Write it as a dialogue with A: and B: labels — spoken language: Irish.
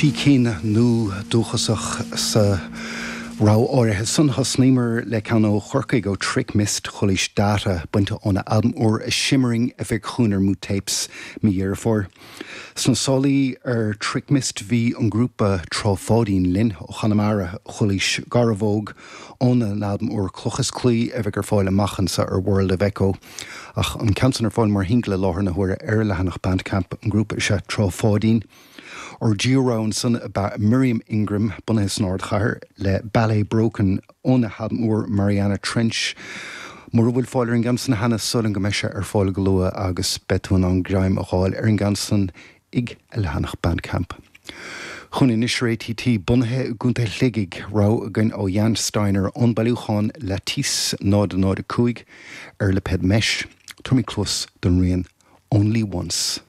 A: Trí cinn nua dúchasach sa rogha áirithe san. Thosnaíomar le ceann ó Chorcaigh, ó Trick Mist, Chualaís Data, bainte óna albam úr A Shimmering a bheidh chugainn ar Moot Tapes mí Dheireadh Fómhair. Sna sálaí ar Trick Mist bhí an grúpa Trá Pháidín linn ó Chonamara, Chualaís Garbhóg óna n-albam úr Cloch is Claí a bheidh ar fáil amach anso ar World of Echo. Ach an ceann san ar fáil mar shingil i láthair na huaire ar a leathanach Bandcamp. An grúpa is ea Trá Pháidín. Ár dtríú rogha ansan ab ea Miriam Ingram, bunaithe san ardchathair, le Ballet Broken óna halbam úr Mariana Trench. Mura bhfuil fáil ar an gceann san cheana, súil agam go mbeidh sé ar fáil go luath agus beidh tú in ann greim a dh'fháil ar an gceann san ag a leathanach Bandcamp. Chugainn anois ar ATT, bunaithe i gContae Shligigh, rogha againn ó Jan Steiner ón bailiúchán Lattice 005 ar lipéad Mesh. Tabharfaimid cluas don rian Only Once.